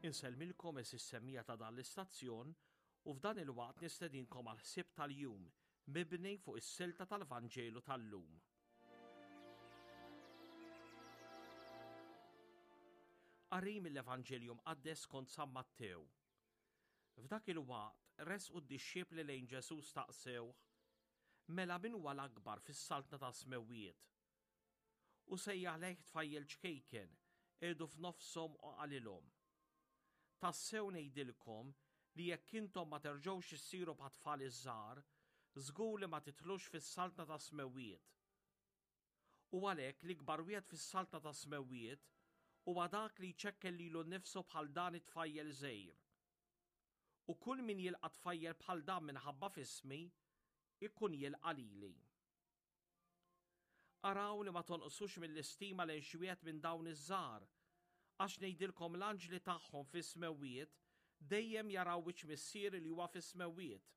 Insellmilkom għeżież semmiegħa ta' dan l-istazzjon u f'dan il-waqt nistedinkom għall-ħsieb tal-jum mibni fuq is-silta tal-Vanġelu tal-lum. Qari mill-Evanġelju Mqaddes skont San Mattew. F'dak il-waqt resqu d-dixxipli lejn Ġesù staqsewh, Mela min huwa l-akbar fis-saltna tas-smewwiet? U sejjaħ lejh tfajjel ċkejken, qiegħdu f'nofshom u qalilhom, Tassew ngħidilkom li jekk intom ma terġgħux issiru bħat-tfal iż-żgħar, żgur li ma tidħlux fis-saltna tas-smewwiet. U għalhekk l-ikbar wieħed fis-saltna tas-smewwiet huwa dak li jċekken lilu nnifsu bħal dan it-tfajjel żgħir. U kull min jilqa' tfajjel bħal dan minħabba f'ismi, ikun jilqa' lili. Araw li ma tonqsux mill-istima lejn xi wieħed minn dawn iż-żgħar, għax ngħidilkom l-anġli tagħhom fis-smewwiet dejjem jaraw wiċċ Missieri li huwa fis-smewwiet.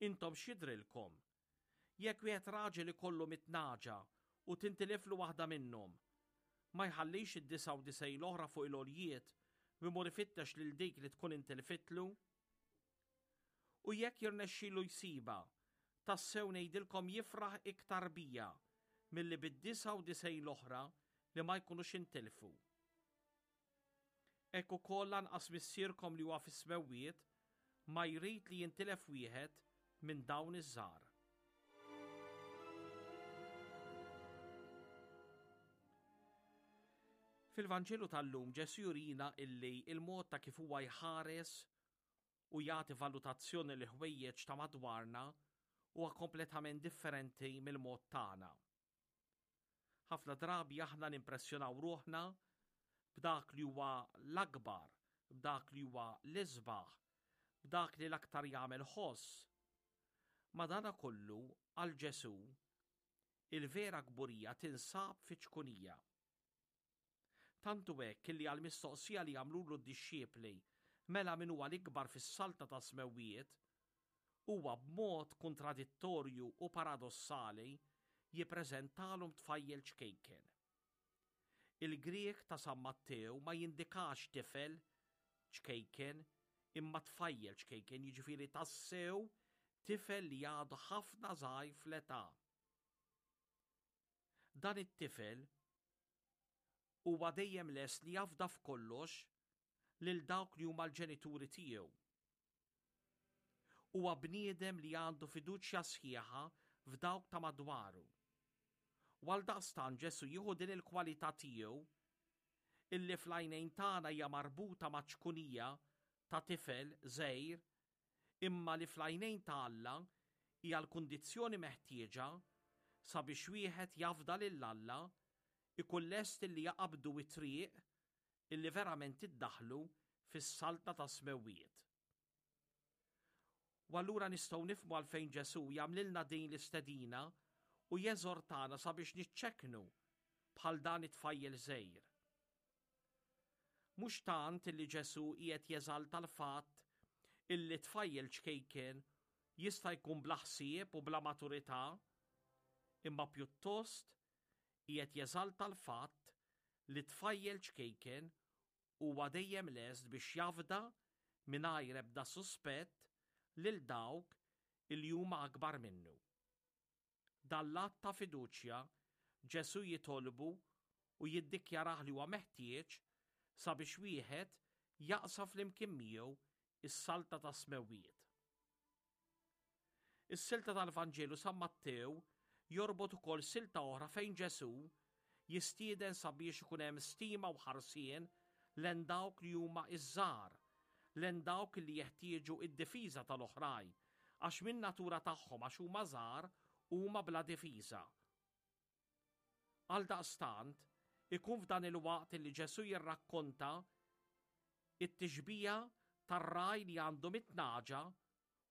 Intom x'jidhrilkom? Jekk wieħed raġel ikollu mitnaġa u tintiliflu waħda minnhom, ma jħallix id-99 l-oħra fuq il-għoljiet u jmur ifittex lil dik li tkun intilfitlu? U jekk jirnexxilu jsibha, tassew ngħidilkom jifraħ iktar bija milli bid-99 l-oħra li ma jkunux intilfu. Hekk ukoll lanqas Missierkom li huwa fis-smewwiet ma jrid li jintilef wieħed minn dawn iż-żgħar. Fil-Vanġelu tal-lum Ġesù jurina illi il-mod ta' kif huwa jħares u jagħti valutazzjoni li ħwejjeġ ta' madwarna huwa kompletament differenti mill-mod tagħna. Ħafna drabi aħna nimpressjonaw ruħna b'dak li huwa l-akbar, b'dak li huwa l-isbaħ, b'dak li l-aktar jagħmel ħoss. Madanakollu, għal Ġesù, il-vera kburija tinsab fiċ-ċkunija. Tant hu hekk illi għall-mistoqsija li għamlulu d-dixxipli, mela min huwa l-ikbar fis-saltna tas-smewwiet, huwa b'mod kuntradittorju u paradossali jippreżentalhom tfajjel ċkejken. Il-Grieg ta' San Mattew ma jindikax tifel ċkejken imma tfajjel ċkejken, jiġifieri tassew tifel li għadu ħafna żgħir fl-età. Dan it-tifel huwa dejjem lest li jafda f'kollox lil dawk li huma l-ġenituri tiegħu. Huwa bniedem li għandu fiduċja sħiħa f'dawk ta' madwaru. U għaldaqstant Ġesù jieħu din il-kwalità tiegħu illi fl-għajnejn tagħna hija marbuta maċ-ċkunija ta' tifel żgħir imma li fl-għajnejn ta' Alla hija l-kundizzjoni meħtieġa sabiex wieħed jafda lil Alla, ikun lest illi jaqabdu t-triq illi verament iddaħħlu fis-Saltna tas-Smewwiet. U allura nistgħu nifhmu għalfejn Ġesù jagħmlilna din l-istedina u jeżortana sabiex niċċekknu bħal dan it-tfajjel żgħir. Mhux tant illi Ġesù qiegħed jeżalta l-fatt illi tfajjel ċkejken jista' jkun bla ħsieb u bla maturità, imma pjuttost qiegħed jeżalta l-fatt li tfajjel ċkejken huwa dejjem lest biex jafda mingħajr ebda suspett lil dawk illi huma akbar minnu. Dan l-att ta' fiduċja Ġesù jitolbu u jiddikjarah li huwa meħtieġ sabiex wieħed jaqsam flimkien miegħu s-Saltna tas-Smewwiet. Is-silta tal-Vanġelu San Mattew jorbot ukoll silta oħra fejn Ġesù jistieden sabiex ikun hemm stima u ħarsien len dawk li huma iż-żgħar, len dawk li jeħtieġu id-difiża tal-oħrajn, għax min-natura tagħhom għax huma żgħar huma bla difiża. Għaldaqstant, ikun f'dan il-waqt li Ġesù jirrakkonta it-tixbija tar-ragħaj li għandu mitnaġa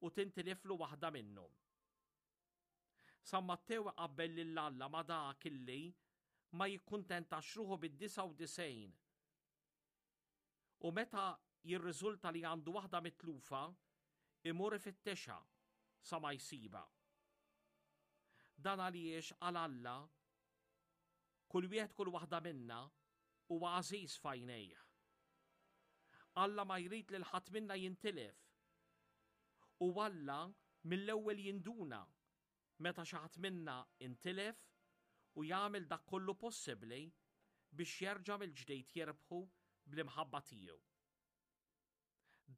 u tintiliflu waħda minnhom. San Mattew iqabbel lil Alla ma' dak illi ma jikkuntentax ruħu bid-99 u meta jirriżulta li għandu waħda mitlufa, imur ifittixha sa ma jsibha. Dan għaliex għal Alla kull wieħed kull waħda minna huwa għażiż f'għajnejh. Alla ma jrid lil ħadd minna jintilef. U Alla mill-ewwel jinduna meta xi ħadd minna intilef u jagħmel dak kollu possibbli biex jerġa' mill-ġdid jirbħu bl-imħabba tiegħu.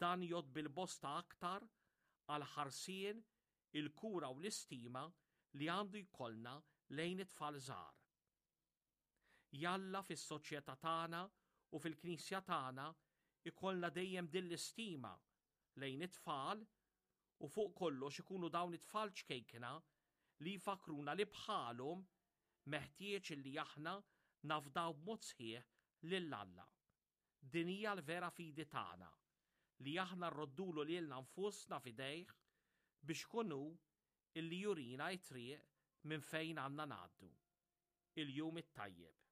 Dan jgħodd bil-bosta aktar għall-ħarsien, il-kura u l-istima li għandu jkollna lejn it-tfal żgħar. Jalla fis-soċjetà tagħna u fil-Knisja tagħna jkollna dejjem din l-istima lejn it-tfal u fuq kollox ikunu dawn it-tfal ċkejkna li jfakkruna li bħalhom meħtieġ illi aħna nafdaw b'mod sħiħ lil Alla. Din hija l-vera fidi tagħna, li aħna rroddulu lilna nfusna f'idejh biex ikun hu illi jurina t-triq minn fejn għandna ngħaddu. Il-jum it-tajjeb.